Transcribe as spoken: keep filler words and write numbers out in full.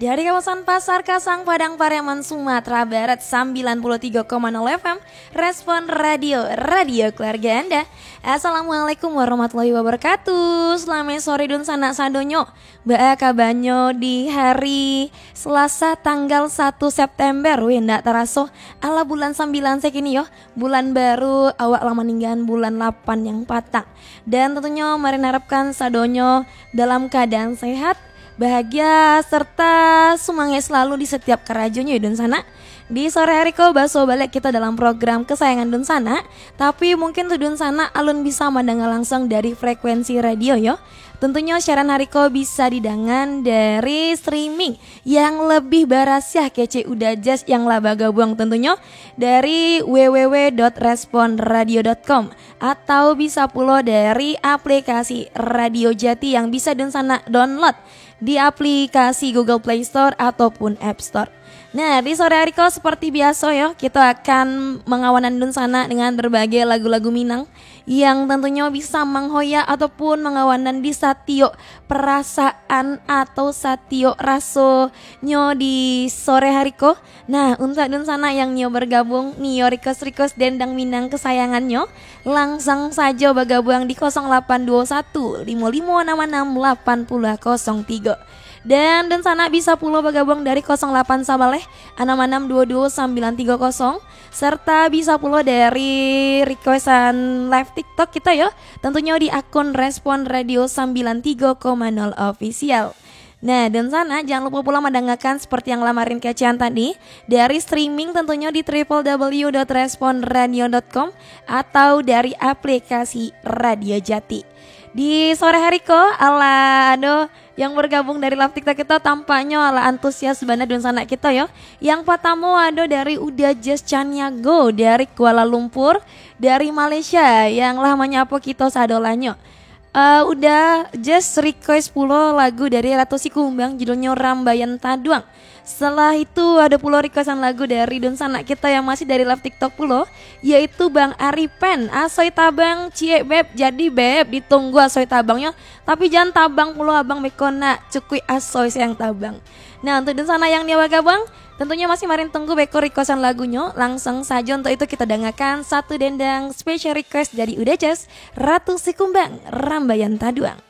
Dari kawasan Pasar Kasang, Padang Pariaman, Sumatera Barat, sembilan puluh tiga koma nol F M, Respon Radio, radio keluarga Anda. Assalamualaikum warahmatullahi wabarakatuh. Selamat sore dunsanak sadonyo. Baa kabanyo di hari Selasa tanggal satu September? Wih, ndak taraso, alah bulan sambilan se kini yo. Bulan baru, awak lah maninggaan bulan lapan yang patang. Dan tentunyo, mari narapkan sadonyo dalam keadaan sehat, bahagia, serta sumangaik selalu di setiap karajonyo, dunsanak. Di sore hari ko, baso baliak kito dalam program kesayangan dunsanak, tapi mungkin tu dunsanak alun bisa mandanga langsung dari frekuensi radio yo. Tentunyo, siaran hari ko bisa didangan dari streaming yang lebih barasiah kecek Uda Jazz yang lah bagabuang, tentunyo dari w w w dot respon radio dot com, atau bisa pulo dari aplikasi Radio Jati yang bisa dunsanak download di aplikasi Google Play Store ataupun App Store. Nah, di sore hari ko seperti biaso yo, kito akan mangawanan dunsanak dengan berbagai lagu-lagu Minang yang tentunyo bisa manghoyak ataupun mangawanan di satiok perasaan atau satiok rasonyo di sore hari ko. Nah, untuak dunsanak yang nio bergabung, nio request-request dendang Minang kesayangannyo, langsung sajo bagabuang di kosong lapan duo satu limo limo anam anam lapan puluh kosong tigo. Dan dunsanak bisa pulo bagabuang dari kosong lapan sabaleh anam anam duo duo sambilan tigo kosong, serta bisa pulo dari requestan live TikTok kito yo, tentunyo di akun Respon Radio sembilan tiga koma nol Official. Nah, dunsanak, jangan lupa pulo mandangakan seperti yang lah marin kecekan tadi, dari streaming tentunyo di triple w dot respon radio dot com atau dari aplikasi Radio Jati. Di sore hari ko, alah ado yang bergabung dari live TikTok kito, tampaknyo alah antusias bana dunsanak kito yo. Yang patamo ado dari Uda Jazz Caniago dari Kuala Lumpur, dari Malaysia, yang lah manyapo kito sadolahnyo. Eh, Uda Jazz request pulo lagu dari Ratu Sikumbang, judulnyo Rambayan Taduang. Setelah itu, ado pulo requestan lagu dari dunsanak kito yang masih dari live TikTok pulo, yaitu Bang Aripen, Asoy Tabang, Ciek Beb. Jadi Beb, ditunggu Asoy Tabangnyo, tapi jan tabang pulo abang, beko nak cukuik asoy se yang tabang. Nah, untuak dunsanak yang nio bagabuang, tentunyo masih marin tunggu beko requestan lagunyo. Langsung sajo untuak itu kito dangakan satu dendang special request dari Uda Jazz, Ratu Sikumbang, Rambayan Taduang.